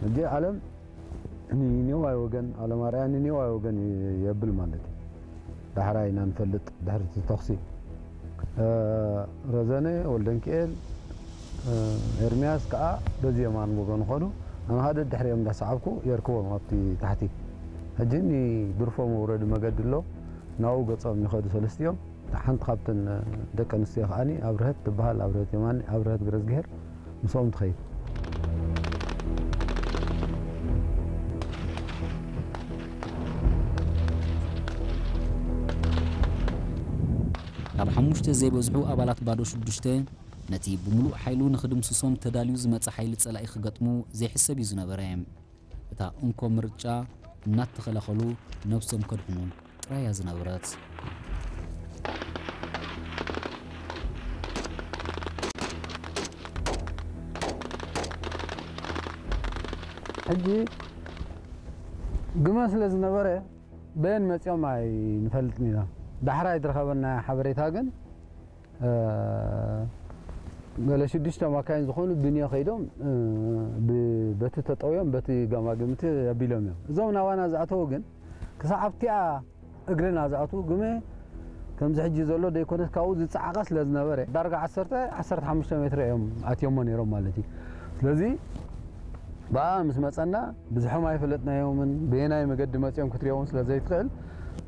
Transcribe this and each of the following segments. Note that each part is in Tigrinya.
ሕጂ ዓለም ንኔዋይ ወገን፣ ዓለም ኣርኣያ ንኔዋይ ወገን የብል ማለት እዩ። ዳሕራይ ኢና ንፈልጥ ድሕሪ እቲ ተኹሲ። እ፣ ረዘነ፣ ወልደንኪኤል፣ እ፣ ኤርምያስ ከኣ በዚ የማን ወገን ኾዱ። ኣነ ኸኣ ደድሕሪኦም እንዳሰዓብኩ የርክቦም ኣብቲ ታሕቲ። ሕጂ ንድርፎ መውረዲ መገዲ ኣሎ፣ ናብኡ ገጾም ይኸዱ ሰለስቲኦም። ሓንቲ ካብተን ደቂ ኣንስትዮ ከኣኒ ኣብርሀት ትበሃል፣ ኣብርሀት የማኒ፣ ኣብርሀት ገረዝግሄር ምስኦም ትኸይድ። ካብ ሓሙሽተ ዘይበዝሑ ኣባላት ባዶ ሽዱሽተ፣ ነቲ ብምሉእ ሓይሉ ንኽድምስሶም ተዳልዩ ዝመጸ ሓይሊ ጸላኢ ክገጥሙ ዘይሕሰብ እዩ ዝነበረ። እታ እንኮ ምርጫ እናተኸላኸሉ ነብሶም ከድሕኑ ጥራይ እያ ዝነበረት። ሕጂ ግመ ስለ ዝነበረ በየን መጺኦም ኣይንፈልጥን ኢና። ዳሕራይ ዝረኸበና ሓበሬታ ግን፣ እ፣ ገለ ሽዱሽተ ማካይን ዝኾኑ ብንዮ ከይዶም፣ እ፣ ብ-፣ በቲ ተጠውዮም በቲ ገማግምቲ ኣቢሎም እዮም። እዞም ናባና ዝኣተዉ ግን ክሳዕ ኣብቲኣ እግርና ዝኣትዉ ግመ ከምዚ ሕጂ ዘሎ ዘይኮነስ ካብኡ ዝጸዓቐ ስለ ዝነበረ ዳርጋ ዓሰርተ፣ ዓሰርተ ሓሙሽተ ሜትሮ እዮም ኣትዮሞ ነይሮም ማለት እዩ። ስለዚ ብኣ ምስ መጸና ብዙሖም ኣይፈለጥናዮምን፣ በየናይ መገዲ መጺኦም ክትሪኦም ስለ ዘይትኽእል፣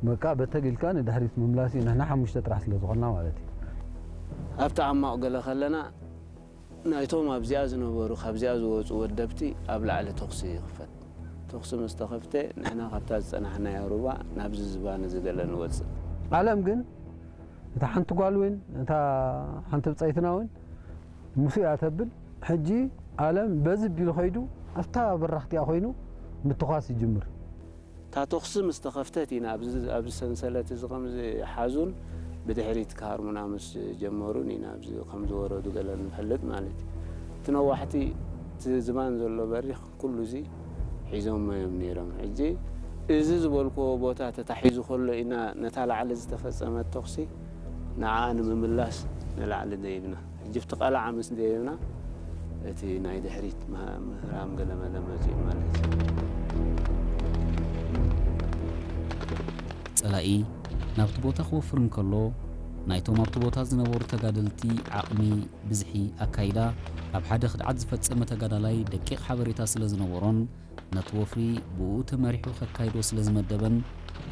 በቃ በተግ ኢልካ ንድሕሪት ምምላስ እዩ፣ ንሕና ሓሙሽተ ጥራሕ ስለ ዝኾንና ማለት እዩ። ኣብቲ ዓማቕ ገለ ከለና፣ ናይቶም ኣብዚኣ ዝነበሩ፣ ካብዚኣ ዝወጹ ወደብቲ ኣብ ላዕሊ ተኹሲ ይኽፈት። ተኹሲ ምስ ተኸፍተ፣ ንሕና ካብታ ዝጸናሕናዮ ሩባ ናብዚ ዝባን እዚ ገለ ንወጽእ። ዓለም ግን፣ እታ ሓንቲ ጓል እውን፣ እታ ሓንቲ ብጸይትና እውን፣ ምስ እያ ተብል። ሕጂ ኣለም በዚ ቢሉ ኸይዱ ኣብታ በራኽ እቲኣ ኾይኑ ምትኳስ ይጅምር። እታ ተኹሲ ምስ ተኸፍተት ኢና ኣብዚ፣ ኣብዚ ሰንሰለት እዚ ከም ዝሓዙን ብድሕሪት ክሃርሙና ምስ ጀመሩን ኢና ኣብዚ ከም ዝወረዱ ገለ ንፈልጥ ማለት እዩ። እቲ ነዋሕቲ፣ እቲ ዝባን ዘሎ በሪኽ ኩሉ እዚ ሒዞሞ እዮም ነይሮም። ሕጂ እዚ ዝበልክዎ ቦታ ተታሒዙ ከሎ ኢና ነታ ላዕሊ ዝተፈጸመት ተኹሲ ንዓኣ ንምምላስ ንላዕሊ ደይብና። ሕጂ ኣብቲ ቀላዓ ምስ ደየብና፣ እቲ ናይ ድሕሪት ምህራም ገለ መለ መጺኡ ማለት እዩ። ጸላኢ ናብቲ ቦታ ክወፍር እንከሎ፣ ናይቶም ኣብቲ ቦታ ዝነበሩ ተጋደልቲ ዓቕሚ፣ ብዝሒ፣ ኣካይዳ፣ ካብ ሓደ ክድዓት ዝፈጸመ ተጋዳላይ ደቂቕ ሓበሬታ ስለ ዝነበሮን፣ ነቲ ወፍሪ ብኡ ተመሪሑ ከካይዶ ስለ ዝመደበን፣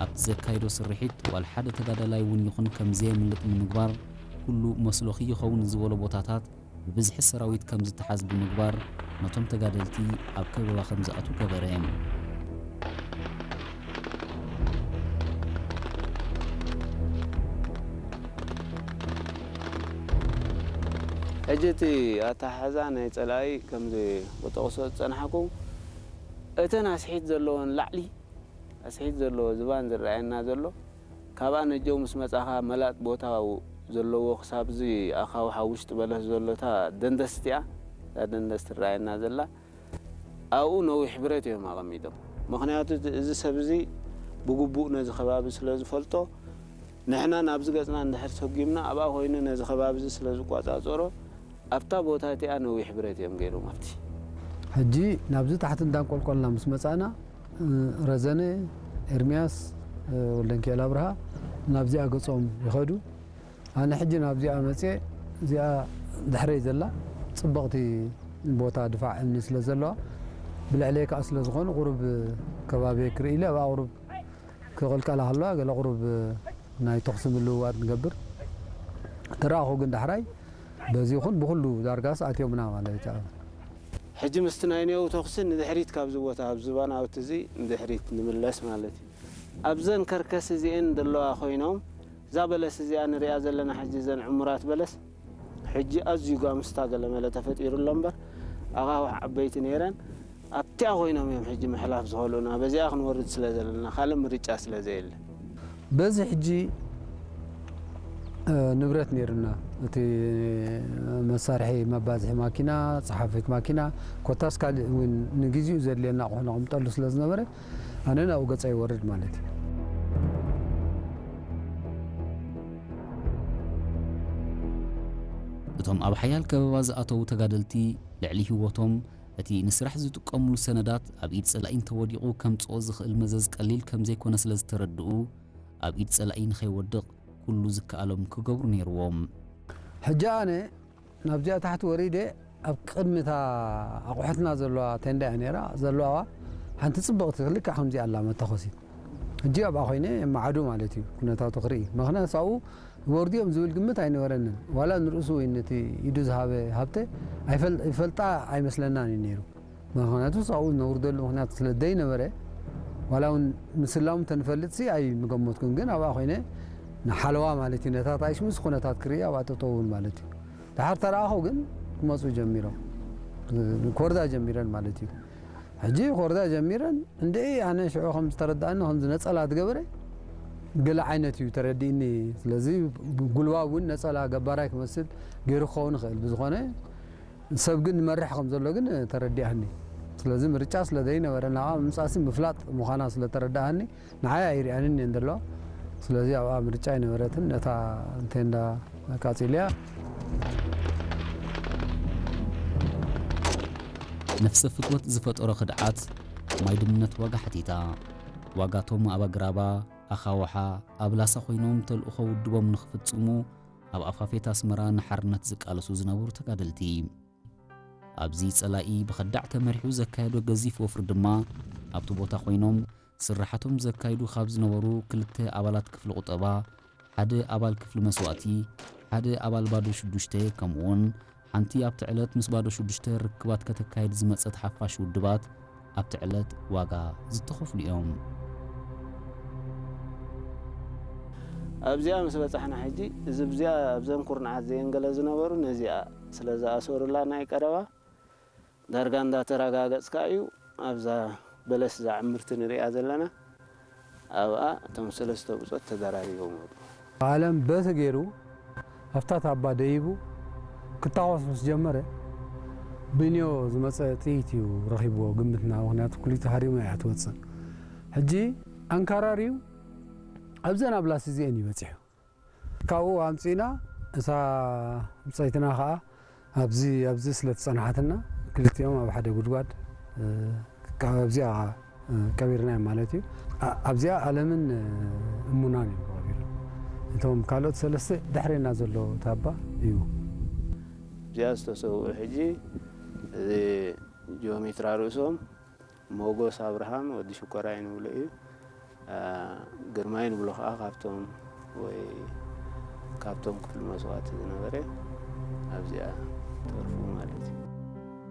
ኣብቲ ዘካይዶ ስርሒት ዋላ ሓደ ተጋዳላይ እውን ይኹን ከም ዘየምልጥ ንምግባር፣ ኩሉ መስሎ ክይኸውን ዝበሎ ቦታታት ብብዝሒ ሰራዊት ከም ዝተሓዝ ብምግባር፣ ነቶም ተጋደልቲ ኣብ ከበባ ከም ዝኣትዉ ገበረ። ሕጂ እቲ ኣተሓሕዛ ናይ ጸላኢ ከምዚ ክጠቕሶ ዝጸናሕኩ፣ እተን ኣስሒት ዘለወን ላዕሊ ኣስሒት ዘለዎ ዝባን ዝረኣየና ዘሎ፣ ካብኣ ነጀው ምስ መጻኻ መላጥ ቦታ ዘለዎ ክሳብ እዚ ኣኻውሕ ኣብ ውሽጢ በለስ ዘሎ እታ ደንደስ እቲኣ፣ እታ ደንደስ ትረኣየና ዘላ፣ ኣብኡ ነዊሕ ብረት እዮም ኣቐሚጦም። ምኽንያቱ እቲ፣ እዚ ሰብ እዚ ብግቡእ ነዚ ከባቢ ስለ ዝፈልጦ፣ ንሕና ናብዚ ገጽና እንድሕር ሰጒምና ኣብኣ ኮይኑ ነዚ ከባቢ እዚ ስለ ዝቆጻጸሮ፣ ኣብታ ቦታ እቲኣ ነዊሕ ብረት እዮም ገይሮም ኣብቲ። ሕጂ ናብዚ ታሕቲ እንዳንቆልቆልና ምስ መጻእና፣ እ፣ ረዘነ፣ ኤርምያስ፣ እ፣ ወልደንኪኤል ኣብርሃ ናብዚኣ ገጾም ይኸዱ። ኣነ ሕጂ ናብዚኣ መጽየ፣ እዚኣ ድሕረይ ዘላ ጽብቕቲ ቦታ ድፋዕ እምኒ ስለ ዘለዋ፣ ብልዕለይ ከኣ ስለ ዝኾኑ ቁሩብ ከባቢ ክርኢ ኢለ ኣብኣ ቁሩብ ክቕልቀላ ከለዋ ገለ ቁሩብ ናይ ተኹሲ ምልውዋጥ ንገብር። ተረኣኹ ግን ዳሕራይ በዚ ይኹን ብኹሉ ዳርጋስ ኣትዮምና ማለት እዩ። ሕጂ ምስቲ ናይ ኔው ተኹሲ ንድሕሪት ካብዚ ቦታ፣ ኣብ ዝባን ኣውቲ እዚ ንድሕሪት ንምለስ ማለት እዩ። ኣብዘን ከርከስ እዚኤን ዘለዋ ኮይኖም፣ እዛ በለስ እዚኣ ንሪኣ ዘለና ሕጂ፣ እዘን ዕሙራት በለስ፣ ሕጂ ኣዝዩ ጋምስታ ገለመለ ተፈጢሩ ኣሎ እምበር፣ ኣኻውሕ ዓበይቲ ነይረን። ኣብቲኣ ኮይኖም እዮም ሕጂ ምሕላፍ ዝኸልኡና። በዚኣ ክንወርድ ስለ ዘለና፣ ካልእ ምርጫ ስለ ዘየለ። በዚ ሕጂ፣ እ፣ ንብረት ነይሩና። እቲ መሳርሒ መባዝሒ ማኪና፣ ጸሓፊት ማኪና፣ ኮታስ ካልእ እውን ንግዜኡ ዘድልየና ኣቑሑ ነቐምጠሉ ስለ ዝነበረ፣ ኣነ ናብኡ ገጸ ይወርድ ማለት እዩ። እቶም ኣብ ሓያል ከበባ ዝኣተዉ ተጋደልቲ ልዕሊ ህይወቶም እቲ ንስራሕ ዝጥቀምሉ ሰነዳት ኣብ ኢድ ጸላኢ እንተወዲቑ ከምጽኦ ዝኽእል መዘዝ ቀሊል ከም ዘይኮነ ስለ ዝተረድኡ፣ ኣብ ኢድ ጸላኢ ንኸይወድቕ ኩሉ ዝከኣሎም ክገብሩ ነይርዎም። ሕጂ ኣነ ናብዚኣ ታሕቲ ወሪደ ኣብ ቅድሚታ ኣቑሑትና ዘለዋ ቴንዳ እያ ነይራ ዘለዋ ሓንቲ ጽብቕቲ ልክዕ ከምዚኣ ኣላ መተኾሲት። ሕጂ ኣብኣ ኮይነ የመዓዱ ማለት እዩ ኩነታቱ ክርኢ። ምኽንያቱ ኣብኡ ይወርዱ እዮም ዝብል ግምት ኣይነበረንን። ዋላ ንርእሱ ወይ ነቲ ኢዱ ዝሃበ ሃብተ ኣይፈል- ይፈልጣ ኣይመስለናን እዩ ነይሩ። ምኽንያቱ ኣብኡ ነውርደሉ ምኽንያት ስለ ዘይነበረ ዋላ እውን ምስላሙ ተንፈልጥ ሲ ኣይምገመትኩን። ግን ኣብኣ ኮይነ ንሓለዋ ማለት እዩ ነታ ታይሽ ምስ ኩነታት ክርኢ ኣብኣ ጠጠውን ማለት እዩ። ድሓር ተረኣኸው ግን ክመፁ ጀሚሮም ክወርዳ ጀሚረን ማለት እዩ። ሕጂ ክወርዳ ጀሚረን እንደ ኣነ ሽዑ ከም ዝተረዳእኒ ከምዚ ነፀላ ዝገበረ ገለ ዓይነት እዩ ተረዲእኒ። ስለዚ ጉልባብ እውን ነፀላ ገባራይ ክመስል ገይሩ ክኸውን ይኽእል። ብዝኾነ ሰብ ግን መርሕ ከም ዘሎ ግን ተረዲኣኒ። ስለዚ ምርጫ ስለ ዘይነበረ ናብኣ ምምፃእሲ ምፍላጥ ምዃና ስለ ተረዳኣኒ ንዓይ ኣይርኣንን እየን ዘለዋ። ስለዚ ኣብኣ ምርጫ ኣይነበረትን። ነታ ቴንዳ ኣቃፂልያ። ነፍሰ ፍትወት ዝፈጠሮ ክድዓት ማይ ድምነት ዋጋ ሓቲታ። ዋጋቶም ኣብ ኣግራባ፣ ኣኻውሓ፣ ኣብ ላሳ ኮይኖም ተልእኾ ውድቦም ንኽፍጽሙ ኣብ ኣፋፌት ኣስመራ ንሓርነት ዝቃለሱ ዝነበሩ ተጋደልቲ። ኣብዚ ጸላኢ ብኸዳዕ ተመሪሑ ዘካየዶ ገዚፍ ወፍሪ ድማ ኣብቲ ቦታ ኮይኖም ስርሓቶም ዘካይዱ ካብ ዝነበሩ ክልተ ኣባላት ክፍሊ ቁጠባ፣ ሓደ ኣባል ክፍሊ መስዋእቲ፣ ሓደ ኣባል ባዶ ሽዱሽተ፣ ከምኡውን ሓንቲ ኣብቲ ዕለት ምስ ባዶ ሽዱሽተ ርክባት ከተካይድ ዝመጸት ሓፋሽ ውድባት ኣብቲ ዕለት ዋጋ ዝተኸፍሉ እዮም። ኣብዚኣ ምስ በጻሕና ሕጂ እዚ ብዚኣ ኣብዘን ኩርናዓት ዘየንገለ ዝነበሩ ነዚኣ ስለ ዝኣሰሩላ ናይ ቀረባ ዳርጋ እንዳተረጋገጽካ እዩ ኣብዛ በለስ እዛ ዕምርቲ ንሪኣ ዘለና ኣብኣ እቶም ሰለስተ ብጾት ተደራሪቦም ወዱ። ዓለም በቲ ገይሩ ኣብታ ታባ ደይቡ ክታኮስ ምስ ጀመረ ብንዮ ዝመፀ ጥይት እዩ ረኺብዎ ግምትና። ምክንያቱ ክሊቱ ሃሪማ እያ ትወፅእ። ሕጂ ኣንካራርዩ ኣብዘን ኣብ ላስ እዚአን እዩ በፂሑ። ካብኡ ኣምፂና እታ ምፀይትና ከዓ ኣብዚ ኣብዚ ስለ ትፀናሓትና ክልቲኦም ኣብ ሓደ ጉድጓድ ኣብዚኣ ቀቢርና እዮም ማለት እዩ። ኣብዚኣ ኣለምን እሙናን እዮም ተቐቢሮም። እቶም ካልኦት ሰለስተ ድሕሬና ዘሎ ታባ እዩ። እዚኣ ዝተሰውኡ ሕጂ እዚ ጂኦሜትራ ርእሶም ሞጎስ ኣብርሃም ወዲ ሽኮራይ ንብሎ እዩ። ግርማይ ንብሎ ከዓ ካብቶም ወይ ካብቶም ክፍሊ መስዋእቲ ዝነበረ ኣብዚኣ ተርፉ ማለት እዩ።